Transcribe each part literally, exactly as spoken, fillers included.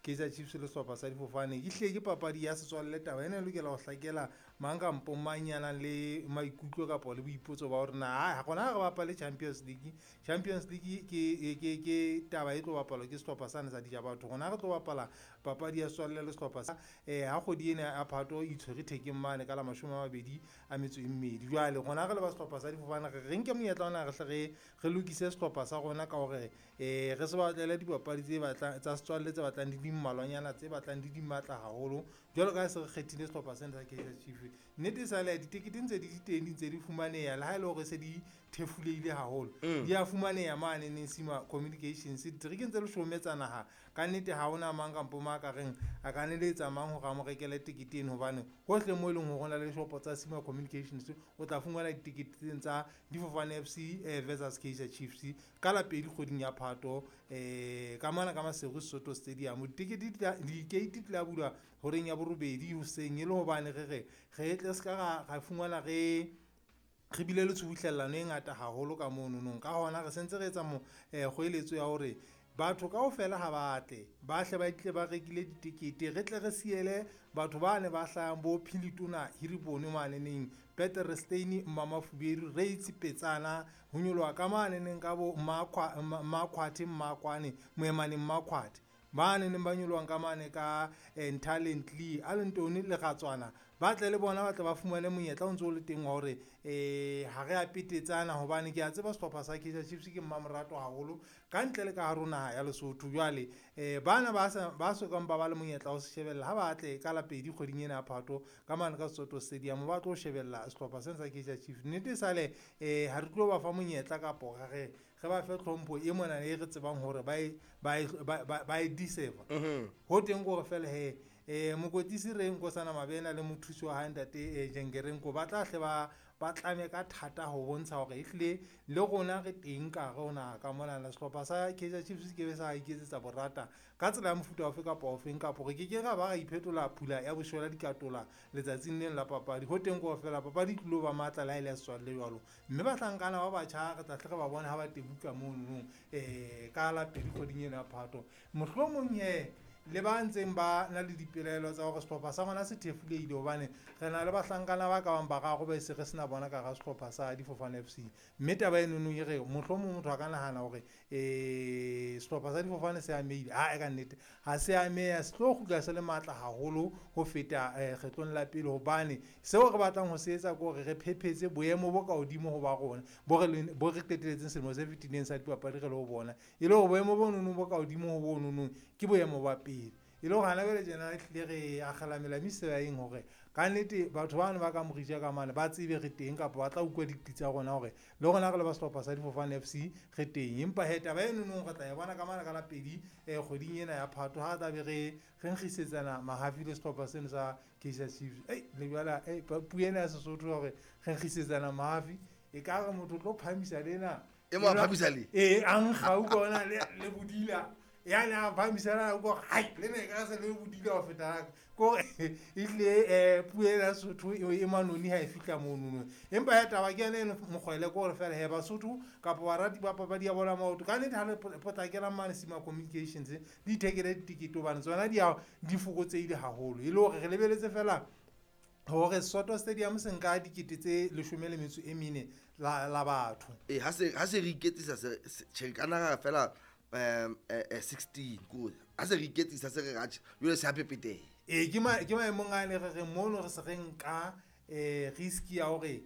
Kaizer Chiefs le sehlopha sa difofane. E hlile ke papadi ya setswalle, taba ena e lokela ho hlakela mang kampo mang ya nang le maikutlo kapa le boipotso ba hore na gona ha re bapale Champions League. Champions League ke ke ke taba e tlo bapalwa ke sehlopha sane sa dija batho. Rona re tlo bapala papadi ya setswalle le sehlopha sa eh ha kgwedi ena ya Phato e itshwere thekeng mane ka la mashome a mabedi a metso e mmedi. Jwale rona re le ba sehlopha sa difofane re re nke monyetla ona re hle re re lokise sehlopha sa rona ka hore eh re se batlele dipapadi tse batlang tsa setswalle tse batlang di di mmalwanyana, tse batlang di di matla haholo jwalo ka ha se re kgethile sehlopha sena sa Kaizer Chiefs. Nnete e sale ditekete ntse di di teng, di ntse di fumaneha le ha e le hore se di thefulehile haholo, di a fumaneha mane neng Sima Communications diterekeng tse leshome tsa naha. Ka nnete ha hona mang kampo mang a ka reng a ka neletsa mang hore a mo rekele tekete eno, hobane hohle moo e leng hore ho na le dishopo tsa Sima Communications o tla fumana ditekete tsena tsa Difofane F C versus Kaizer Chiefs ka la pedi kgweding ya Phato um ka mona ka Maseru Soto Stadium. Ditekete di-gate di tla bulwa horeng ya borobedi hoseng, e le hobane re re re tle se ka ra fumana re re bile le tshubuhlellano e ngata haholo ka mono. Ka hona re sentse re etsa mo kgoeletso ya hore batho kaofela ha ba tle ba hle ba tle ba rekile ditekete, re tle re siele batho ba ne ba hlahang bo Philitona Hiribone maneneng Peterstein Mmamafubedu Reitz Petsana ho nyoloha ka maneneng ka bo Mmakhwathe Mmakwane Moemane Mmakhwathe ba neneng ba nyolohang ka mane ka Ntalentli Alentone le Ratswana, ba tle le bona ba tle ba fumane monyetla o ntso o le teng wa hore um ha re a petetsana, hobane ke a tseba sehlopha sa Kaizer Chiefs ke mmamorato haholo ka ntle le ka hare ho naha ya Lesotho. Jwale um bana ba sa ba sokang ba ba le monyetla wa ho se shebella ha ba tle ka la pedi kgweding ena ya Phato ka mane ka Soto Stadium ba tlo shebella sehlopha sena sa Kaizer Chiefs. Nnete sale um ha re tlo ba fa monyetla kapo re re re ba fe tlhompho e mona e re tsebang hore ba e ba e ba e deserve. Ho teng ke hore fela he um mokwetlisi re Nkosana Mabena le mothusi wa hae ntate Jengerenko ba tla hle ba ba tlame ka thata ho bontsha hore ehlile le rona re teng ka hare ho naha ka monana. Sehlopha sa Kaizer Chiefs ke be sa iketsetsa borata ka tsela ya mofuta ofe kapa ofeng, kapo re ke ke ra ba ra iphetola phula ya boshwela dikatola letsatsing leng la papadi. Ho teng ke hore fela papadi e tlilo ba matla le ha e le ya setswalle jwalo, mme bahlankana ba batjha re tla hle re ba bone ha ba tebuka monono um ka la pedi kgweding ena ya Phato. Mohlomong he le ba ntseng ba na le dipelaelo tsa hore sehlopha sa rona se thefulehile, hobane re na le bahlankana ba ka bang bararo ba e se re sena bona ka hara sehlopha sa Difofane F C, mme taba enono e re mohlomong motho a ka nahana hore um sehlopha sa Difofane se amehile. Ha ka nnete ha se ameha, se tlo kgutla se le matla haholo ho feta kgetlong la pele, hobane seo re batlang ho se etsa ke hore re phephetse boemo bo ka hodimo ho ba rona bo re bo re qetelletseng selemo se fetileng sa dipapadi re le ho bona, e le hore boemo bo nono bo ka hodimo ho bo nonong ke boemo ba pele. E le hore hana jwale tjena ehlile re akgela melamo sebaeng hore ka nnete batho bano ba ka Morija ka mane ba tsebe re teng, kapa ba tla utlwa diqi tsa rona hore le rona re le ba sehlopha sa Difofane F C re teng. Empa he taba eno re tla e bona ka mane ka la pedi um kgweding ena ya Phato ha tla be re re nkgisetsana mahafi le sehlopha seno sa Kaizer Chiefs. Ei le jwala puo ena ya Sesotho hore re nkgisetsana mahafi, e ka re motho o tlo phahamisa lena E mo a phahamisa le? Ee, a nkga utlwa ona le le bodila yani a phahamisana ko hai le ne ka se le bodila ho feta ko ehlile um puo ena ya Sesotho e manoni ha e fihla monono. Empa ya taba ke yona eno mokgwele ke hore fela he Basotho kapa barati ba papadi ya bolo ya maoto ka nnete ha le potlakelang mane Sima Communications di ithekele ditekete, hobane tsona di a di fokotsehile haholo, e le hore re lebeletse fela hore Soto Stadium se nka dikete tse leshome le metso e mene la la batho. Ee, ha se ha se re iketsisa se tjhe ka nna fela um sixteen ko ha se re iketsisa se re ratjhe jwale se a pepeteha. Ee, ke ma ke maemong a ne re re mono re se re nka um risk ya hore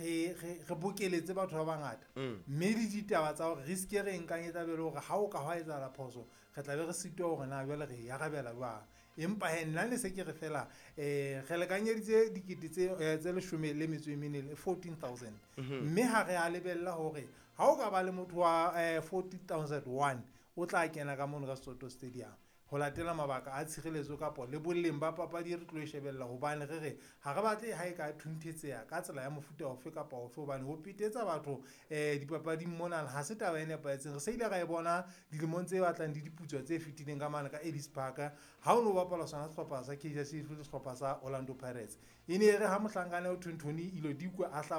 re re re bokeletse batho ba bangata, mme le ditaba tsa hore risk e re nkang e tla be le hore ha o ka hwa etsahala phoso re tla be re sitwa hore na jwale re e arabela jwang. Empa he nna ne se ke re fela um re lekanyeditse dikete tse tse leshome le metso e mene, fourteen thousand, mme ha re a lebella hore ha o ka ba le motho wa um forty thousand one o tla kena ka mono ka Soto Stadium ho latela mabaka a tshireletso kapo le boleng ba papadi e re tlo e shebella, hobane re re ha re batle ha e ka thunthetseha ka tsela ya mofuta ofe kapa ofe, hobane ho petetsa batho um dipapading monana ha se taba e nepahetseng. Re se ile ra e bona dilemong tse batlang di diputswa tse fetileng ka mane ka Ellis Park ha o no bapala sona sehlopha sa Kaizer Chiefs le sehlopha sa Orlando Pirates, e ne e re ha mohlankana o Thonthoni ilo dikwe a hlaba